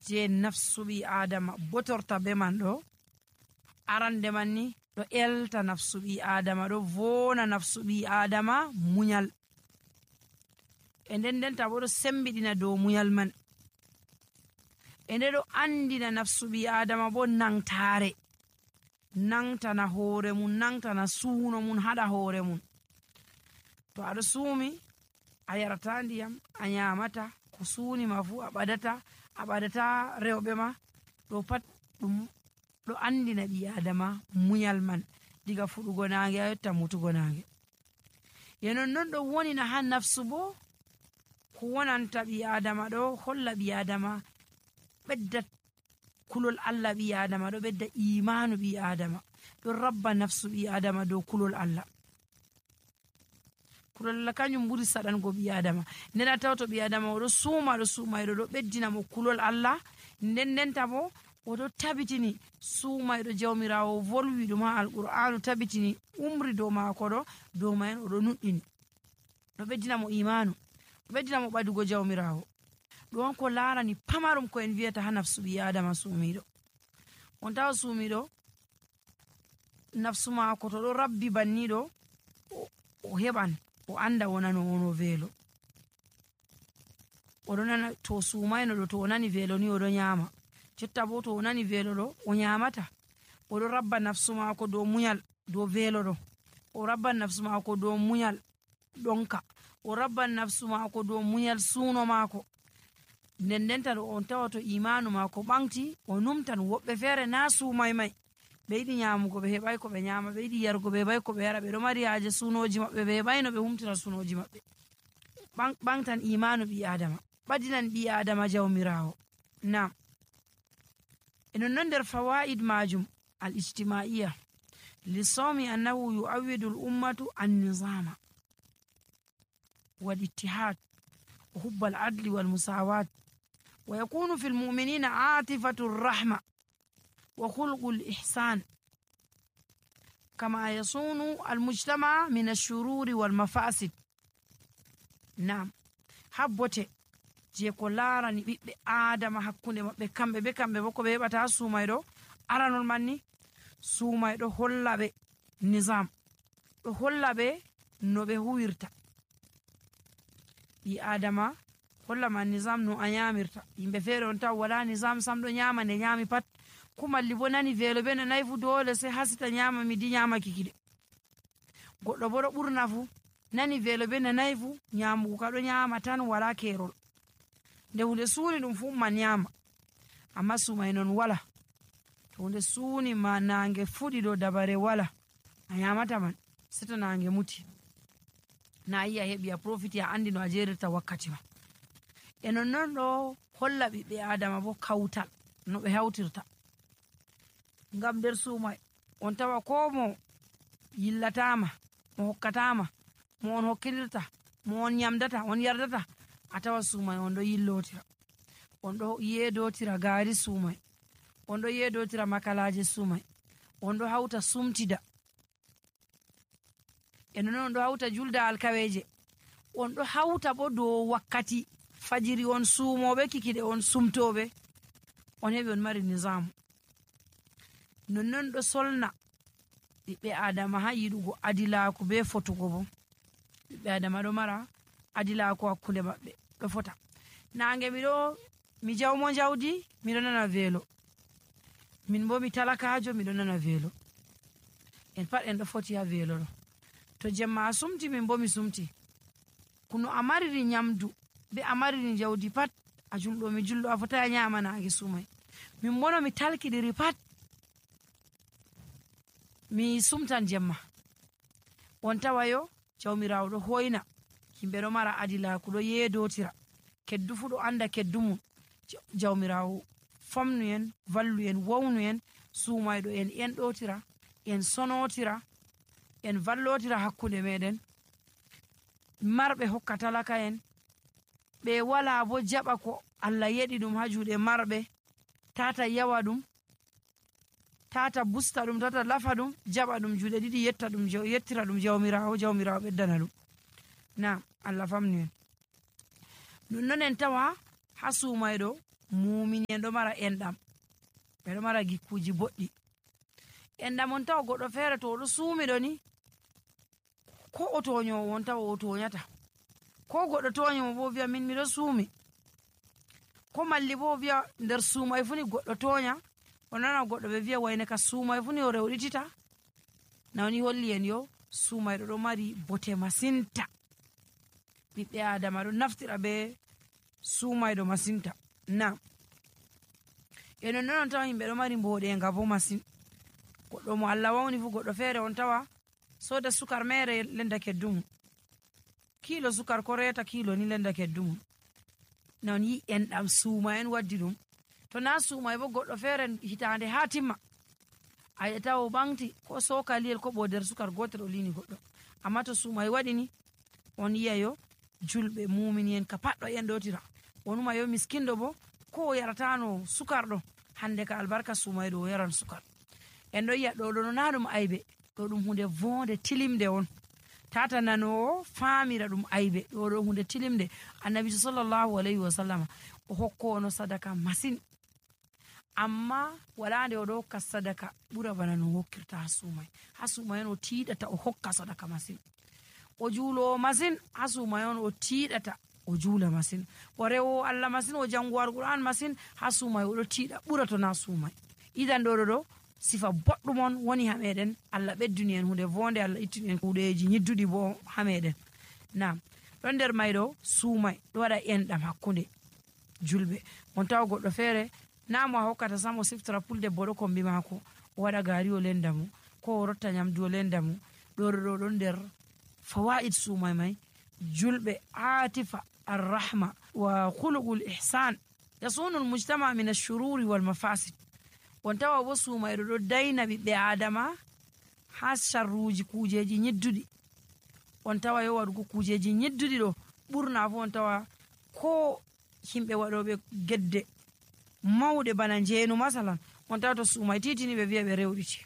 je nafsu ɓi adama botorta be man ɗo arande man ni ɗo elta nafsu ɓi adama, ɗo vona nafsu ɓi adama munyal, e ndendenta bo ɗo sembiɗina dow munyal man, e nde ɗo andina nafsu ɓi adama bo nangtare, nangtana hoore mun, nangtana suuno mun haɗa hoore mun. To aɗo suumi a yarata ndiyam, a nyamata ko suuni ma fu, a ɓadata rewɓe ma, ɗo pat ɗum ɗo andina ɓi adama munyal man diga fuɗugo nange a yotta mutugo nange. Yenon non ɗo wonina ha nafsu bo ko wonanta ɓi adama ɗo holla ɓi adama ɓedda kulol Allah, ɓi adama ɗo ɓedda imanu, ɓi adama ɗo rabba nafsu ɓi adama dow kulol Allah. Kulol Allah kanjum ɓuri saɗango ɓi adama, nden a tawa to ɓi adama oɗo suuma ɗo ɓeddina mo kulol Allah, ndendenta bo oɗo tabitini suumayɗo jawmirawo volwi ɗum ha alqur'anu, tabitini umri dow maako ɗo dow mayen oɗo nuɗɗini, ɗo ɓeddina mo imanu, ɗo ɓeddina mo ɓadugo jawmirawo. ɗon ko larani pamarum ko en wiyata ha nafsu ɓi adama suumiɗo. On tawa suumiɗo nafsu maako to ɗo rabbi banniɗo o heɓan o anda wonano ono velo, oɗo nana to suumayno ɗo to o nani velo ni oɗo nyama, jotta bo to o nani velo ɗo o nyamata, oɗo rabba nafsu maako dow munyal dow velo ɗo, o rabban nafsu maako dow munyal ɗonka, o rabban nafsu maako dow munyal suuno maako. Ndendenta ɗo on tawa to imanu maako ɓanti o numtan. Woɓɓe feere na suumay may, ɓe yiɗi nyamugo ɓe heɓay ko ɓe nyama, ɓe yiɗi yarugo ɓe heɓay ko ɓe yara, ɓe ɗo mari haaje suunoji maɓɓe, ɓe heɓayno ɓe humtira suunoji maɓɓe. ɓantan imanu ɓi adama, ɓadinan ɓi adama jawmirawo. Nam e non nder fawaid majum al ijtimaiya lisawmi annahu yu'awwidu al ummatu an nizama wal ittihad wa hubba al adli wal musawat wa yakunu fil mu'minina atifatu ar-rahma wa khulqu al-ihsan kama yasunu al-mujtama min ash-shururi wal mafasid. Nam habbote je ko larani ɓiɓɓe adama hakkunde maɓɓe kamɓe be kamɓe bo ko ɓe heɓata suumayɗo aranol manni suumayɗo holla ɓe nizam, ɗo holla ɓe no ɓe huwirta. ɓi adama holla ma nizam no a nyamirta. Yimɓe feere on taw wala nizam sam, ɗo nyama nde nyami pat, kumalli bo nani velo ɓe nanayi fu dole sai hasita nyama midi nyama kikide. Goɗɗo bo ɗo ɓurna fu nani velo ɓe nanayi fu nyamugo ka ɗo nyama tan wala kerol, nde hunde suuni ɗum fu man nyama. Amma sumay non wala, to hunde suuni ma nange fuɗi ɗo dabare wala, a nyamata man seta nange muti, na yi a heɓi a profiti a andi no a jerirta wakkati ma. E nonnon ɗo holla ɓiɓɓe adama bo kawtal no ɓe hawtirta. Ngam nder suumay on tawa ko mo yillatama, mo hokkatama, mo on hokkilirta, mo on nyamdata, on yardata, a tawa suumay on ɗo yillotira, on ɗo yedotira gaari suumay, on ɗo yedotira makalaje suumay, on ɗo hawta sumtida, e non on ɗo hawta julda alkaweje, on ɗo hawta bo dow wakkati fajiri on suumoɓe, kikiɗe on sumtoɓe, on heɓi on mari nizamu. Nonnon ɗo solna ɓiɓɓe adama ha yiɗugo adilaku be fotugo bo. Ɓiɓɓe adama ɗo mara adilaku hakkunde maɓɓe ɗo fota. Nange mi jawmo jawdi miɗo nana velo, min bo mi talakajo miɗo nana velo, en pat en ɗo foti ha velo ɗo. To jemma a sumti min bo mi sumti, kuno a mariri nyamdu be a mariri jawdi pat a julɗo mi julɗo, a fota nyama nange sumay. Min bono mi talkidiri pat mi sumtan jemma. On tawayo jawmirawo ɗo hoyna yimɓe ɗo mara adilaku, ɗo yedotira, keddu fu ɗo anda keddu mum. Jawmirawo famnu en, vallu en, wawnu en, suumayɗo en enɗotira, en sonotira, en vallotira hakkunde meɗen. Marɓe hokka talaka en, ɓe wala bo jaɓa ko Allah yeɗi ɗum ha juuɗe marɓe, tata yawa ɗum, tata busta ɗum, tata lafa ɗum, jaɓa ɗum juuɗe ɗiɗi yettira ɗum jawmirawo, jawmirawo ɓeddana ɗum. Na Allah famnu en. Nonnon en tawa ha suumayɗo mumini en ɗo mara enɗam, ɓeɗo mara gikkuji boɗɗi. Enɗam on tawa goɗɗo feere to oɗo suumiɗo ni ko o toñowo on tawa o toñata, ko goɗɗo toñimo bo wiya min miɗo suumi, ko malli bo wiya nder suumay fu ni goɗɗo toña, o nana goɗɗo ɓe wiya wayne ka suumay fu ni o rewɗitita. Nawni holli en yo suumayɗo ɗo mari bote masinta, ɓiɓɓe adama ɗo naftira be suumayɗo masinta. Na e non tawa yimɓe ɗo mari mboɗenga bo masin. Goɗɗo mo Allah wawni fu goɗɗo feere on tawa soda sukar mere lenda keddumum, kilo sukar ko reta kilo ni lenda keddumum. Non yi enɗam suuma en waddi ɗum. To na suumay bo goɗɗo feere hitande ha timma a yi'ata o ɓanti ko sokaliyel ko ɓo nder sukar gotel o lini goɗɗo. Amma to suumay waɗi ni on yi'a yo julɓe mumini en ka pat ɗo enɗotira. Onuma yo miskinɗo bo ko o yaratano sukar ɗo, hande ka albarka suumayɗo o yaran sukar. En ɗo yi'a ɗo no na ɗum aybe, ɗo ɗum hunde vonde tilimde on. Tata nanowo famira ɗum aybe, ɗo hunde tilimde. Annabi sallallahu alayhi wa sallama o hokkono sadaka masin, amma wala nde oɗo hokka sadaka ɓura bana no hokkirta ha suumay. Ha suumay on o tiiɗata o hokka sadaka masin. O juulowo masin, ha suumay on o tiiɗata o juula masin. O rewowo Allah masin, o jango Alqur'an masin, ha suumay oɗo tiiɗa ɓura to na suumay. Idan ɗo sifa boɗɗum on woni ha meɗen. Allah ɓedduni en hunde vonde, Allah ittini en kuuɗeji nyidduɗi bo ha meɗen. Nam ɗon nder mayɗo suumay ɗo waɗa enɗam hakkunde julɓe. On tawa goɗɗo feere na mo a hokkata sam o siftira pulde boɗo kombi maako o waɗa gaari o lenda mo, ko o rotta nyamdu o lenda mo. ɗo ɗon nder fawaid suumay may. Julɓe atifa arrahma wa khuluqul ihsan yasunu almujtama min ashururi wal mafasid. On tawa bo suumayɗo ɗo dayna ɓiɓɓe adama ha sharruji kujeji nyidduɗi. On tawa yo waɗugo kujeji nyidduɗi ɗo ɓurna fu on tawa ko himɓe waɗoɓe gedde mawɗe bana njeenu masalan, on tawa to suumay titini ɓe wiya ɓe rewɗiti.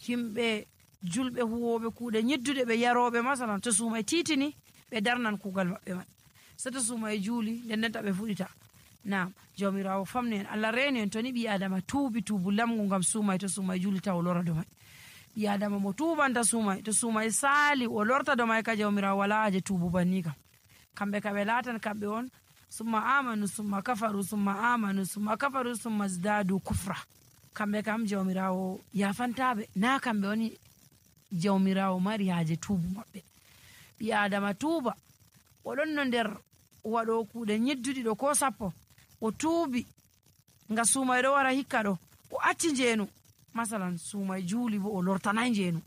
Himɓe julɓe huwoɓe kuuɗe nyidduɗe ɓe yaroɓe masalan, to suumay titini ɓe darnan kuugal maɓɓe man. So to suumay juuli ndendenta ɓe fuɗita. Na jawmirawo famni en, Allah reeni en. To ni ɓi adama tuubi tuubu lamgu ngam suumay, to suumay juuli taw o lora do may. Ɓi adama mo tuubanta suumay, to suumay saali o lorta do may ka jawmirawo wala haje tuubu banni kam. Kamɓe ka ɓe laatan kamɓe on summa amanu summa kafaru summa amanu summa kafaru summa zdadu kufra. Kamɓe kam jawmirawo yafantaɓe, na kamɓe woni jawmirawo mari haje tuubu maɓɓe. Ɓi adama tuuba, oɗon no nder waɗo kuuɗe nyidduɗi ɗo ko sappo, o tuubi nga suumay ɗo wara hikka ɗo, o acci njeenu masalan suumay juuli bo o lortanay njeenu,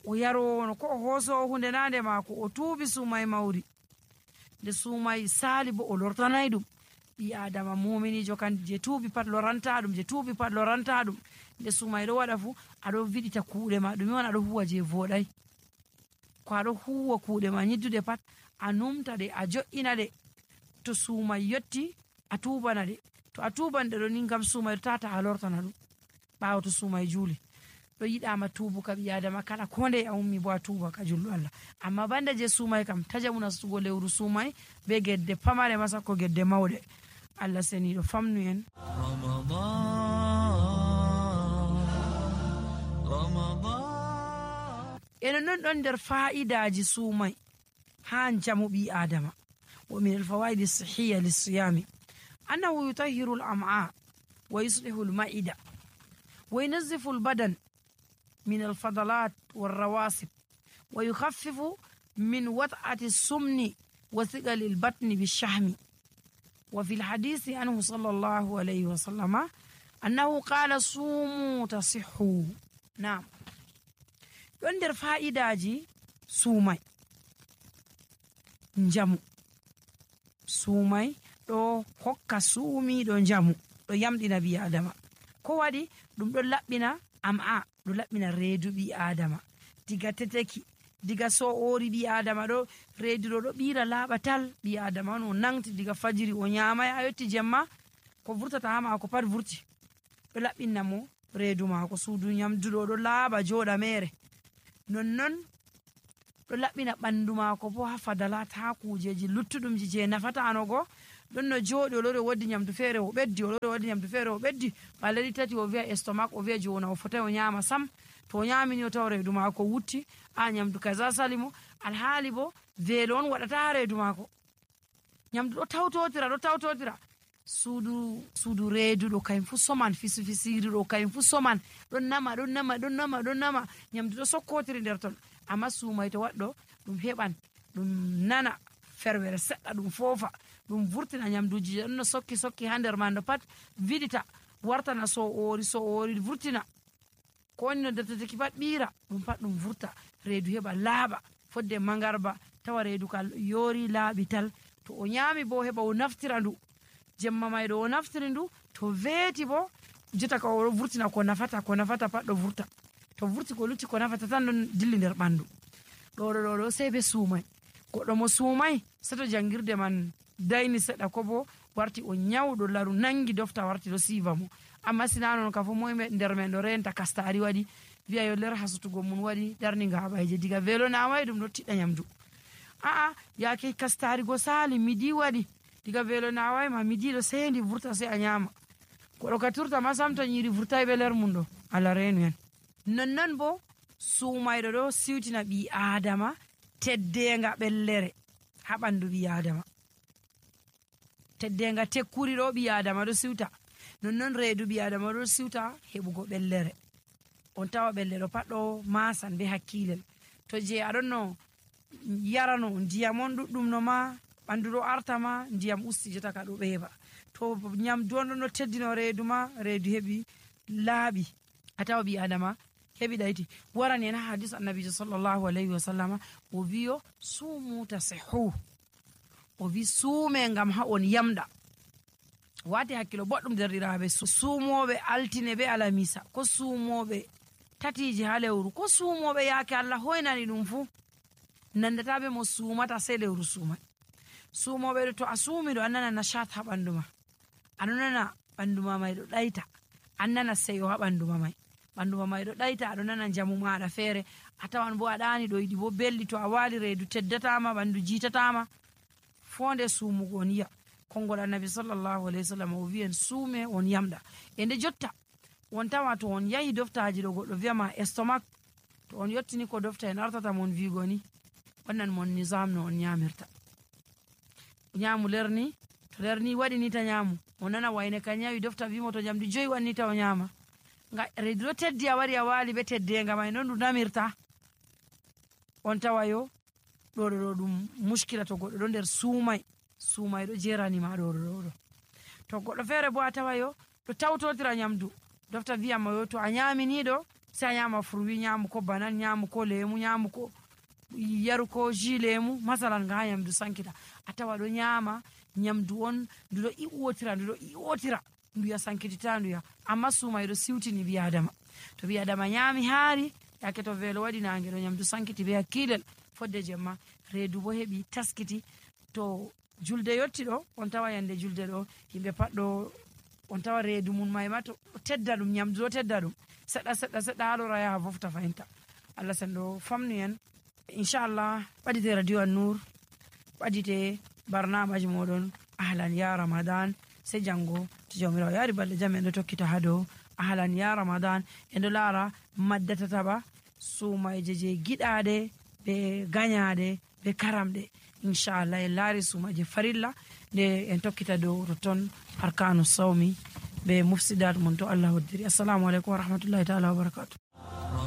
o yarowono ko o hoosowo hunde nande maako, o tuubi suumay mawri, nde suumay saali bo o lortanay ɗum. Ɓi adama muminijo kan je tuubi pat loranta ɗum, je tuubi pat loranta ɗum. Nde suumay ɗo waɗa fu aɗo viɗita kuuɗe ma, ɗumi on aɗo huwa je voɗay. Ko aɗo huwa kuuɗe ma nyiddude pat a numta ɗe, a jo'ina ɗe. To suumay yotti a tuubana ɗe, to a tuuban ɗe ɗo ni ngam suumay tata a lortana ɗum ɓaawo to suumay juuli. Ɗo yiɗama tuubu ka ɓi adama kala ko nde a ummi bo a tuuba ka julɗo Allah. Amma banda je suumay kam tajamu nastugo lewru suumay be gedde pamare masa ko gedde mawɗe. Allah seniɗo famnu en. enen non ɗon nder fa'idaji suumay ha jamu ɓi adama. wa min alfawaidi sahiya lissiyami annahu yutahiru al-am'a wa yuslihu al-ma'ida wa yunazzifu al-badan min al-fadalat wal-rawasib wa yukhaffifu min wat'ati as-sumni wa thiqali al-batni bish-shahmi. wa fi al-hadisi anhu sallallahu alayhi wa sallama annahu qala sumu tasihhu. Naam, ɗon nder fa'idaji suumay njamu. Suumay ɗo hokka suumiɗo njamu, ɗo yamɗina ɓi adama. Ko waɗi ɗum ɗo laɓɓina am'a, ɗo laɓɓina reedu ɓi adama diga teteki, diga so'ori ɓi adama ɗo reedu ɗo ɓira laaɓa tal. ɓi adama on o nangti diga fajiri o nyamay a yotti jemma ko vurtata ha maako pat vurti. Ɗo laɓɓinna mo reedu maako, suudu nyamduɗo ɗo laaɓa jooɗa mere. Nonnon ɗo laɓɓina ɓandu maako bo ha fadalat, ha kujeji luttuɗumji je nafatanogo ɗon no jooɗi o lori o waddi nyamdu feere o ɓeddi, o lori o waddi nyamdu feere o ɓeddi, balɗe tati o wiya estomac, o wiya jona o fotai o nyama sam. To o nyamini o tawa reedu maako wutti, nyamdu kaza sali mo, alhaali bo veelo on waɗata ha reedu maako. Nyamdu ɗo tawtotira suudu reedu ɗo kayum fu soman, fisiri ɗo kayum fu soman, ɗon nama nyamdu ɗo sokkotiri nder ton. Amma suumay to waɗɗo ɗum heɓan ɗum nana ferwere seɗɗa, ɗum foofa, ɗum vurtina nyamduji je ɗon no sokki ha nder man no pat viɗita wartana so'ori vurtina ko woni no dattataki pat ɓiira ɗum pat ɗum vurta, reedu heɓa laaɓa fodde mangarba, tawa reedu ka yoori laaɓi tal. To o nyami bo heɓa o naftira ndu jemma may ɗo o naftiri ndu, to veeti bo jotta ka o vurtina ko nafata pat ɗo vurta, to vurti ko lutti ko nafata tan ɗon dilli nder ɓandu. ɗo sey be suumay. Goɗɗo mo suumay seto jangirde man dayni seɗɗa, ko bo warti o nyawɗo laru nangi dofta warti ɗo siiva mo. Amma sina non ka fu moyme nder men ɗo renta kastari waɗi, wiya yo nder hasutugo mun waɗi darni ngaɓayje, diga velo naway ɗum ɗo tiɗɗa nyamdu. Yake kastari go sali midi waɗi, diga velo naway ma midi ɗo sendi vurta sai a nyama. Goɗɗo ka turta ma sam to nyiri vurtai be ler mum ɗo, Allah renu en. Nonnon bo suumayɗo ɗo siwtina ɓi adama teddenga ɓellere ha ɓandu ɓi adama, teddenga tekkuri ɗo ɓi adama ɗo siwta, nonnon reedu ɓi adama ɗo siwta heɓugo ɓellere. On tawa ɓellere pat ɗo masan be hakkilel. To je aɗon no yarano ndiyam on ɗuɗɗum no ma ɓandu ɗo artama, ndiyam usti jota ka ɗo ɓeeɓa. To nyamdu on ɗon no teddino reedu ma, reedu heɓi laaɓi, a tawa ɓi adama heɓi ɗayti. Warani en ha hadis annabijo sallallahu alayhi wa sallama o wiyo suumu tasihu, o wi suume ngam ha on yamɗa. Wati hakkilo boɗɗum derɗiraɓe, suumoɓe altine be alamisa, ko suumoɓe tatiji ha lewru, ko suumoɓe yaake Allah hoynani ɗum fu, nandata be mo suumata sai lewru suumai. Suumoɓe ɗo to a suumi ɗo annana nashat ha ɓandu ma, anonana ɓandu ma may ɗo ɗayta, annana seyo ha ɓandu ma may, ɓandu ma may ɗo ɗayta, aɗo nana jamu maɗa feere, a tawan bo aɗani ɗo yiɗi bo belɗi, to a wali reedu teddatama, ɓandu jiitatama. Fonde suumugo on yiya konngol annabi sallallahu alayhi wa sallam o wiyen suume on yamɗa. E nde jotta on tawa to on yahi doftaji ɗo goɗɗo wiyama estomac, to on yettini ko dofta en artata mon wigo ni wannan mon nisam no on nyamirta. Nyamu lerni, to lerni waɗi ni ta nyamu, o nana wayne ka nyawi dofta wimo to jamdi 5 wanni ta o nyama. Nga reedu ɗo teddi a wari a wali be teddenga may non ɗum namirta. On tawa yo ɗo ɗum muskila to goɗɗo ɗo nder suumay ɗo jeranima ɗo. To goɗɗo feere bo a tawa yo ɗo tawtotira nyamdu, dofta wiyama yo to a nyamini ɗo sai a nyama fruwi, nyamu ko banan, nyamu ko lemu, nyamu ko yaru ko jus lemu masalan nga ha nyamdu sankita. A tawa ɗo nyama nyamdu on ndu ɗo iwotira ndu ya sankitita ndu ya, amma suumay ɗo siwtini ɓi adama. To ɓi adama nyami haari, yake to velo waɗi nange ɗo nyamdu sankiti be hakkilel, fodde jemma reedu bo heɓi taskiti. To julde yotti ɗo, on tawa yande julde ɗo yimɓe pat ɗo, on tawa reedu mum may ma to tedda ɗum, nyamdu ɗo tedda ɗum seɗɗa ha lora yaha fofta fahimta. Allah sen ɗo famnu en inchallah. ɓaɗite radio an nour, ɓaɗite barnamaji moɗon ahlan ya ramadan, sai jango to jawmirawo yaari balɗe jam en ɗo tokkita ha dow ahlan ya ramadan. En ɗo laara maddatataɓa suumayje je giɗaɗe be gañaɗe be karamɗe, inchallah en laari suumaje farilla nde en tokkita dow toton arkanu sawmi be mufsidat mon to Allah hoddiri. Assalamu aleykum wa rahmatullahi taala wa barakatuh.